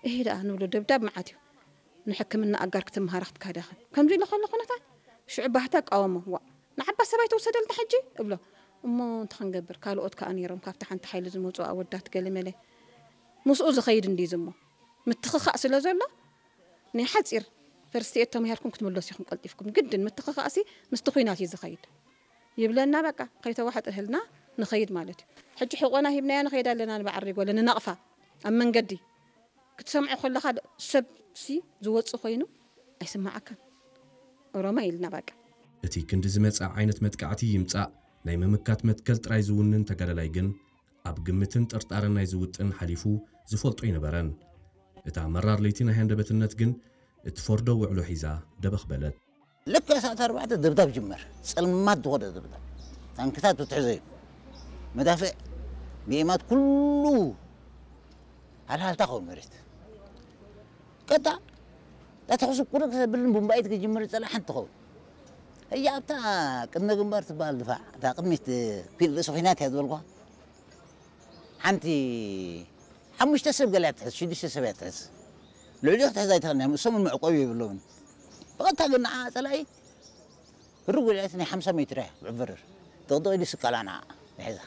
እሄ ደኣ ንብሎ ደብዳብ መዓት እዩ። ንሕክምና ኣጋር ክትምሃራ ክትካዳኸን ከምዚ ኢለ ከሎ ኩነታት ሽዑ ባህታ ቃወሞ። ዋ ንዓባ ሰባይ ተወሰደልና ሕጂ እብሎ። እሞ እንታይ ክንገብር ካልኦት ከኣ ነይሮም ካብቲ ሓንቲ ሓይሊ ዝመፁ ኣወዳት ገለመለ ምስኡ ዝኸይድ እንዲዩ ዝሞ ምትኽኻእ ስለ ዘሎ ናይ ሓፂር ፈርስቲ ኤድ ተማሂርኩም ክትምለሱ ኢኹም ቀልጢፍኩም ግድን ምትኽኻእሲ ምስቲ ኩናት እዩ ዝኸይድ ይብለና። በቃ ከይተዋሕጠ እህልና ንኸይድ ማለት እዩ። ሕጂ ሕቆና ሂብናያ ንኸይድ ኣለና ንበዓል ሪጎለ ንናቕፋ ኣብ መንገዲ ክትሰምዖ ከለኻ ሰብ ሲ ዝወጽእ ኮይኑ ኣይስምዓካን። ኦሮማይ ኢልና በቃ። እቲ ክንዲ ዝመጽእ ዓይነት መጥቃዕቲ ይምጻእ ናይ ምምካት መትከል ጥራይ ዝውንን ተጋዳላይ ግን ኣብ ግምትን ጥርጣረን ናይ ዝውጥን ሓሊፉ ዝፈልጦ ኣይነበረን። እታ መራር ለይቲ ናይ ሃንደበትነት ግን እትፈርዶ ውዕሎ ሒዛ ደበኽ በለት። ልክዕ ሰዓት ኣርባዕተ ደብዳብ ጅመር። ጸልማት ዝኾነ ደብዳብ። ታንክታት ትትሕዘ እዩ። መዳፍዕ ብኤማት ኩሉ ሃልሃልታ ኸውን መሬት። ቀጣ እታ ተኹሲ ቁርቅ ዘብልን ቡምባኢት ክጅምር ጸላ ሓንቲ ትኸውን። እያ ኣብታ ቅድመ ግንባር ትበሃል ድፋዕ እታ ቅድሚት ፊል ርእሲ ኩናት እያ ዝበልኳ ሓንቲ ሓሙሽተ ሰብ ገለ እያ ትሕዝ ሽዱሽተ ሰብ እያ ትሕዝ ልዕሊኡ ክትሕዝ ኣይትኽእልን እያ እሶምን መዕቆቢ የብሎምን ብቐጥታ ግን ንዓ ጸላኢ ህሩግ ጉልዒት ናይ ሓምሳ ሜትር እያ ብዕብርር ጥቕጥቕ ኢሉ ስቀላ ንዓ ይሕዛ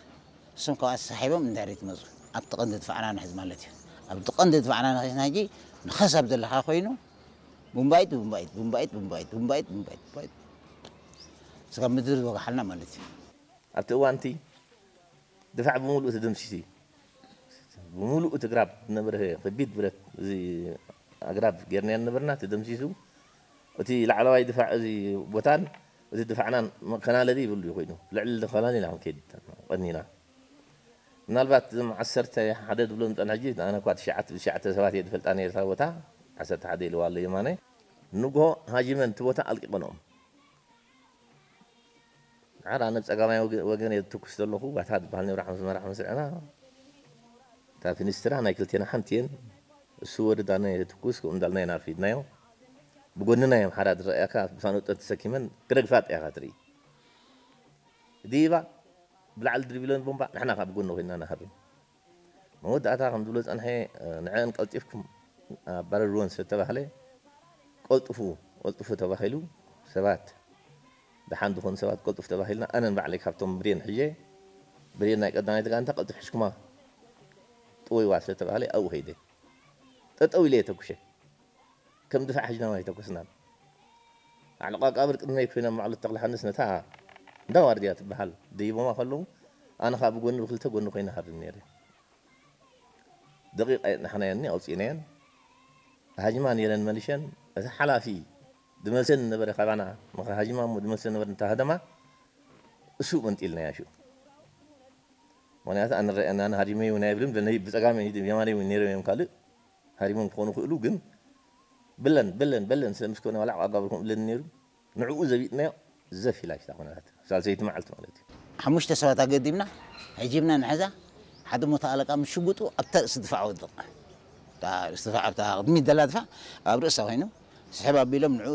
እሶም ካብኣ ተሳሒቦም እንዳሪ ትመፁ ኣብቲ ቀንዲ ድፋዕና ንሕዝ ማለት እዩ ኣብቲ ቀንዲ ድፋዕና ንሕዝና ሕጂ ንኸሳብ ዘለካ ኮይኑ ቡምባይት ቡምባይት ቡምባይት ቡምባይት ቡምባይት ቡምባይት ቡምባይት ስጋብ ምድሪ ዝወጋሓልና ማለት እዩ ኣብቲ እዋንቲ ድፋዕ ብምሉእ ተደምሲሱ እዩ። ብምሉእ እቲ ግራብ ዝነበረ ከቢድ ብረት እዚ ኣግራብ ጌርናዮ ዝነበርና ተደምሲሱ። እቲ ላዕለዋይ ድፋዕ እዚ ቦታን እቲ ድፋዕናን መከላለሊ ይብሉ እዩ ኮይኑ ልዕሊ ከላለና ክንከይድ ቀኒና። ምናልባት እዞም ዓሰርተ ሓደ ዝብሎም ዝፀንሐ ሕጂ ኣነ እኳ ትሽዓተ ትሽዓተ ሰባት እየ ዝፈልጣ ነየ እታ ቦታ ዓሰርተ ሓደ ኢልዋ ኣሎ የማነ ንግሆ ሃጂመን እቲ ቦታ ኣልቂቐንኦም። ድሓር ኣነ ብጸጋማይ ወገን እየ ዝትኩስ ዘለኹ ባታ ዝበሃል ነብራ ሓምስ መራ ሓምስ ዕና እታ ፊኒስትራ ናይ ክልቴና ሓንቲ እየን እሱ ወርድ ኣነ እየ ዝትኩስ ከምኡ እንዳልና ኢና ኣርፊድናዮ ብጎንና እዮም ሓራ ዝረኣያካ ብሳኖጠ ተሰኪመን ክረግፋ ጥያኻ ትርኢ ዲባ ብላዕሊ ድርቢለን ቦምባ ንሕና ካብ ጎኒ ኮይንና ንሃርም መወዳእታ ከም ዝብሎ ዝጸንሐ ንዐን ቀልጢፍኩም ኣባረርወን ስለ ተባህለ ቀልጥፉ ቀልጥፉ ተባሂሉ ሰባት ደሓን ዝኾኑ ሰባት ቀልጥፉ ተባሂልና ኣነን ባዕለይ ካብቶም ብሬን ሕየ ብሬን ናይ ቀዳማይ ተጋንታ ቀልጥፍ ሕሽኩማ ጥወይዋ ስለ ተባህለ ኣብኡ ከይደ ጠጠው ኢለ የተኩሸ ከም ድፋዕ ሕጅና ኣይተኮስናን። ኣዕለቃቃብር ቅድመይ ኮይኖም ማዕሎት ተክለሃንስ ነታ እንዳ ዋርድያ ትበሃል ደይቦማ ከለዉ ኣነ ከዓ ብጎኒ ብክልተ ጎኒ ኮይነ ሃርም ነይረ። ደቂቅ ኣየጥናሕናየኒ ኣውፂእናየን ሃጅማ ነይረን መሊሸን እቲ ሓላፊ ድመልሰን ነበረ ካባና ምክሪ ሃጅማ እሞ ድመልሰን ነበረ እንታ ሃደማ እሱ መንጢልናያ ሽኡ ምክንያቱ ኣነ ረኣየና ኣነ ሃዲመ እውን ኣይብልን ብጸጋመይ ብየማነይ እውን ነይሮም እዮም ካልእ ሃዲሞም ክኾኑ ይኽእሉ ግን ብለን በለን በለን ስለ ምስ ኮነ ዋላ ዓቃብ ጋብርኩም እብለኒ ነይሩ ንዕኡ ዘቢጥናዮ ዘፍ ኢላ ሽታ ኮነታት ሳልሰይቲ መዓልቲ ማለት እዩ ሓሙሽተ ሰባት ኣገዲምና ሒጂብና ንሕዛ ሓደ ሞተ ኣለቃ ምስ ሽጉጡ ኣብታ ርእሲ ድፋዕ ወድቕ እታ ርእሲ ድፋዕ ኣብታ ቅድሚት ዘላ ድፋዕ ኣብ ርእሳ ኮይኑ ስሕብ ኣቢሎም ንዑ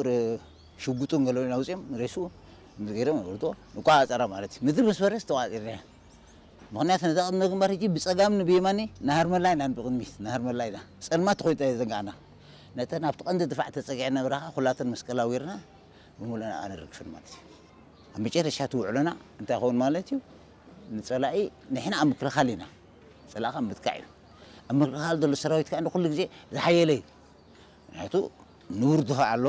ሽጉጡን ገለውን ኣውፅኦም ሬሱ ገይሮም ወድቆ ንቋፃፀራ ማለት እዩ ምድሪ ምስ በረስ ተቋፂርና ምኽንያቱ ነዛ ቅድመ ግንባር ሕጂ ብጸጋምኒ ብየማኒ ናሃርመላ ኢና ብቕድሚት ናሃርመላ ኢና ጸልማት ተኾይጣ እየ ዘንጋዕና ነተን ኣብቲ ቀንዲ ድፋዕ ተጸጊዐ ነብራኻ ኩላተን መስቀል ኣዊርና ብምሉእና ኣነርግፍን ማለት እዩ ኣብ መጨረሻ እቲ ውዕሎና እንታይ ይኸውን ማለት እዩ ንጸላኢ ንሕና ኣብ ምክልኻል ኢና ጸላእኻ ምጥቃዕ እዩ ኣብ ምክልኻል ዘሎ ሰራዊት ከዓ ኩሉ ግዜ ዝሓየለ እዩ ምክንያቱ ንቡር ድፋዕ ኣሎ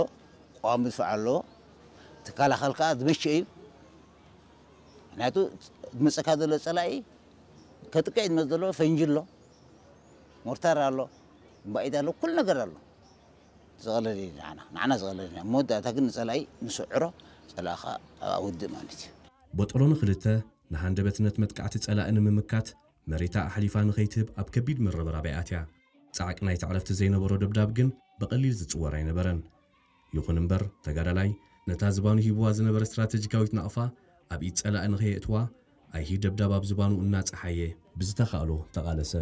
ቀዋሚ ድፋዕ ኣሎ ትከላኸል ከዓ ዝመቸ እዩ ምክንያቱ ዝመፀካ ዘሎ ፀላኢ ከጥቅዕ ዝመፅ ዘሎ ፈንጂ ኣሎ ሞርታር ኣሎ ባኢድ ኣሎ ኩሉ ነገር ኣሎ ዝቐለል እዩ ንዓና ንዓና ዝቐለል እዩ መወዳእታ ግን ንፀላኢ ንስዕሮ ፀላእኻ ኣውድእ ማለት እዩ ቦጦሎኒ ክልተ ንሃንደበትነት መጥቃዕቲ ፀላኢ ንምምካት መሬታ ኣሕሊፋ ንኸይትህብ ኣብ ከቢድ ምርብራብ እያ ኣትያ። ጻዕቂ ናይቲ ዕረፍቲ ዘይነበሮ ደብዳብ ግን ብቐሊል ዝጽወር ኣይነበረን። ይኹን እምበር፣ ተጋዳላይ ነታ ዝባኑ ሂብዋ ዝነበረ ስትራተጂካዊት ናቕፋ ኣብ ኢድ ጸላኢ ንኸየእትዋ፣ ኣይሂ ደብዳብ ኣብ ዝባኑ እናጸሓየ ብዝተኻእሎ ተቓለሰ።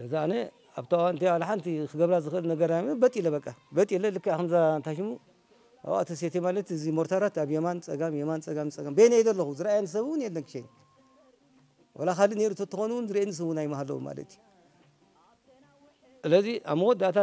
ነዛ ኣነ ኣብታ እዋን እቲኣ ዋላ ሓንቲ ክገብራ ዝኽእል ነገር ኣይነበረን። በጥ ኢለ በቃ በጥ ኢለ ልክዕ ከምዛ እንታይ ሽሙ ኣብኣ ተሴትየ ማለት እዚ ሞርታራት ኣብ የማን ጸጋም የማን ጸጋም ጸጋም በይነይ ዘለኹ ዝረኣየኒ ሰብ እውን የለን ክሸይን ዋላ ካልእ ነይሩ ተትኾኑ እውን ዝርእየኒ ሰብ እውን ኣይምሃለውን ማለት እዩ። ስለዚ ኣብ መወዳእታ